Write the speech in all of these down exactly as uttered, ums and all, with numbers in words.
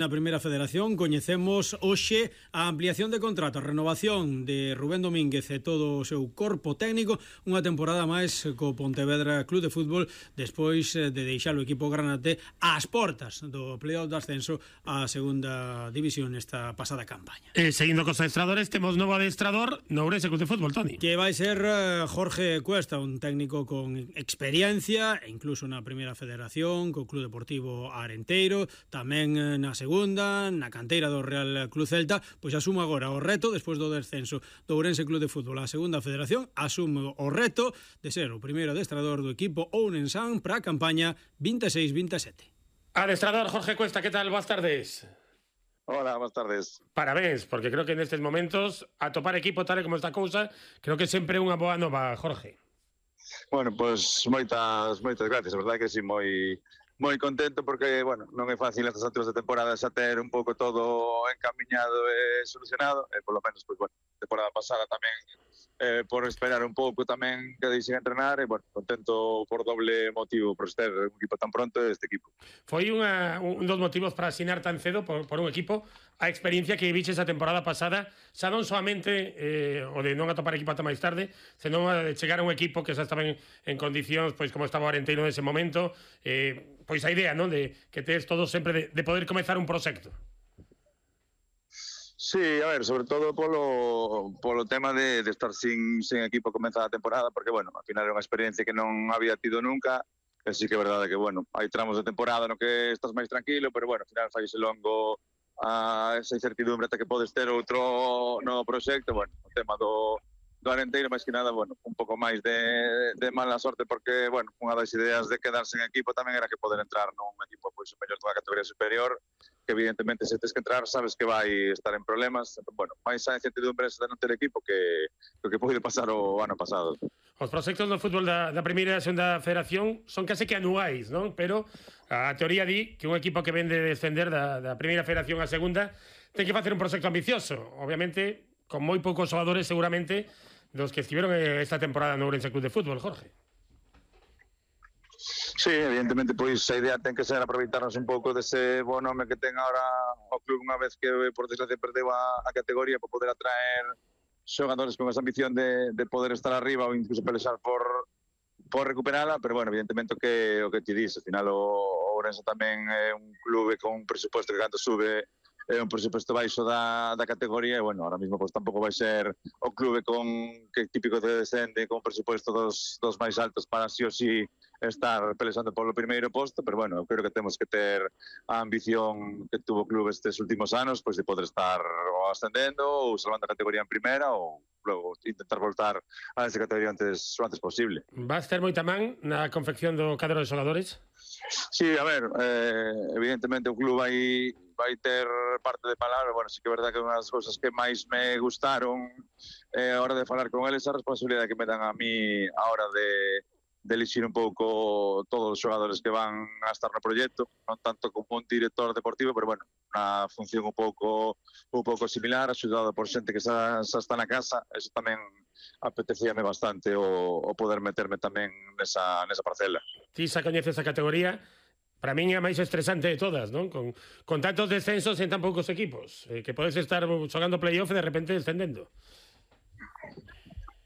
Na Primeira Federación coñecemos hoxe a ampliación de contrato, a renovación de Rubén Domínguez e todo o seu corpo técnico, unha temporada máis co Pontevedra Club de Fútbol despois de deixar o equipo granate ás portas do playoff de ascenso á segunda división nesta pasada campaña. E seguindo cos adestradores, temos novo adestrador no Ourense Club de Fútbol, Toni. Que vai ser Jorge Cuesta, un técnico con experiencia, e incluso na Primeira Federación, co Club Deportivo Arenteiro, tamén na segunda segunda, na canteira do Real Club Celta, pois asume agora o reto, despois do descenso do Ourense Club de Fútbol á segunda federación, asume o reto de ser o primeiro adestrador do equipo ourensán para a campaña veintiséis veintisiete. Adestrador Jorge Cuesta, que tal? Boas tardes. Hola, boas tardes. Parabéns, porque creo que nestes momentos atopar equipo tal e como esta cousa, creo que sempre é unha boa nova, Jorge. Bueno, pois pues, moitas, moitas gracias, a verdade que si, moi... moi contento porque, bueno, non é fácil estas alturas de temporada xa ter un pouco todo encamiñado e solucionado, e polo menos, pois, bueno, temporada pasada tamén eh, por esperar un pouco tamén que deixen entrenar, e, bueno, contento por doble motivo, por ter un equipo tan pronto este equipo. Foi unha, un dos motivos para asinar tan cedo por, por un equipo a experiencia que viches a temporada pasada, xa non solamente eh, o de non atopar equipo ata máis tarde, senón a de chegar a un equipo que xa estaba en, en condicións, pois como estaba o Arenteiro nese momento, eh, pois a idea, non, de que tes todo sempre de, de poder comezar un proxecto. Sí, a ver, sobre todo polo, polo tema de, de estar sin, sin equipo comenzada a temporada, porque, bueno, al final é unha experiencia que non había tido nunca, e sí que é verdade que, bueno, hai tramos de temporada no que estás máis tranquilo, pero, bueno, al final fai ese longo a esa incertidumbre ata que podes ter outro novo proxecto. Bueno, o tema do, do Arenteiro, máis que nada, bueno, un pouco máis de, de mala sorte, porque, bueno, unha das ideas de quedarse en equipo tamén era que poder entrar nun equipo pois mellor dunha categoría superior, que evidentemente se tes que entrar sabes que vai estar en problemas. Bueno, máis a incertidumbre de non ter equipo que o que pode pasar o ano pasado. Os proxectos do fútbol da, da primeira e segunda federación son case que anuais, non? Pero a teoría di que un equipo que vende descender da, da primeira federación á segunda ten que facer un proxecto ambicioso, obviamente con moi poucos xogadores seguramente dos que estiveron esta temporada no Ourense Club de Fútbol, Jorge. Sí, evidentemente, pois a idea ten que ser aproveitarnos un pouco dese bo nome que ten agora o club unha vez que, por desgracia, perdeu a, a categoría, para poder atraer xogadores con esa ambición de, de poder estar arriba ou incluso pelexar por, por recuperala, pero, bueno, evidentemente o que, o que te dis, ao final o, o Ourense tamén é un clube con un presupuesto que cando sube é un presupuesto baixo da, da categoría, e, bueno, ahora mismo pues, tampouco vai ser o clube con que típico de descende, con un presupuesto dos, dos máis altos para sí ou sí estar pelexando polo primeiro posto, pero, bueno, eu creo que temos que ter a ambición que tuvo o clube estes últimos anos, pois, de poder estar ou ascendendo ou salvando a categoría en primeira, ou logo intentar voltar a esa categoría antes, o antes posible. Vas ter moita man na confección do cadro de xogadores? Sí, a ver, eh, evidentemente o club vai vai ter parte de palabra. Bueno, sí que é verdade que unha das cousas que máis me gustaron eh, a hora de falar con eles a responsabilidade que me dan a mí a hora de, de elixir un pouco todos os xogadores que van a estar no proxecto, non tanto como un director deportivo, pero, bueno, unha función un pouco un pouco similar, axudado por xente que xa, xa está na casa. Eso tamén apetecíame bastante o, o poder meterme tamén nesa, nesa parcela. Ti xa coñeces a categoría, para min é a máis estresante de todas, non? Con, con tantos descensos en tan poucos equipos, eh, que podes estar xogando playoff e de repente descendendo.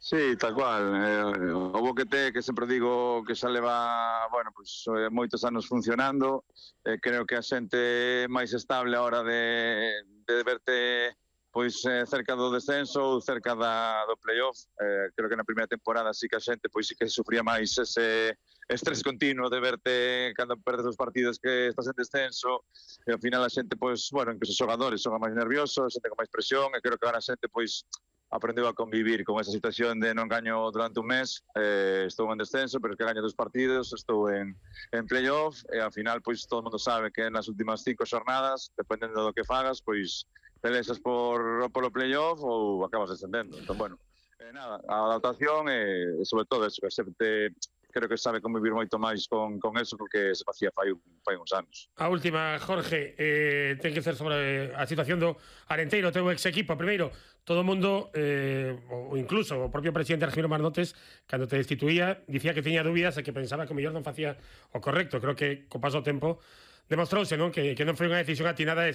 Sí, tal cual. Eh, o Boquete, que sempre digo que xa leva, bueno, pues, eh, moitos anos funcionando, eh, creo que a xente máis estable a hora de, de verte pois eh, cerca do descenso ou cerca da, do playoff. Eh, creo que na primeira temporada sí que a xente pois sí que sufría máis ese estrés continuo de verte cando perdes os partidos que estás en descenso, e ao final a xente, pois, bueno, incluso os xogadores son máis nerviosos, a xente con máis presión, e creo que agora a xente, pois, aprendeu a convivir con esa situación de non gaño durante un mes, eh, estou en descenso, pero que gaño dos partidos, estou en, en playoff, e ao final, pois, todo o mundo sabe que nas últimas cinco xornadas, dependendo do que fagas, pois, pelexas por, por o playoff ou acabas descendendo. Entón, bueno, eh, nada, a adaptación e, sobre todo, eso, que sempre creo que sabe convivir moito máis con, con eso porque se facía fai, fai uns anos. A última, Jorge, eh, ten que ser sobre a situación do Arenteiro, teu ex equipo. Primeiro, todo o mundo, eh, ou incluso o propio presidente Argiro Marnotes, cando te destituía, dicía que teña dúbidas e que pensaba que o mellor non facía o correcto. Creo que co paso do tempo demostrouse, non? Que, que non foi unha decisión atinada de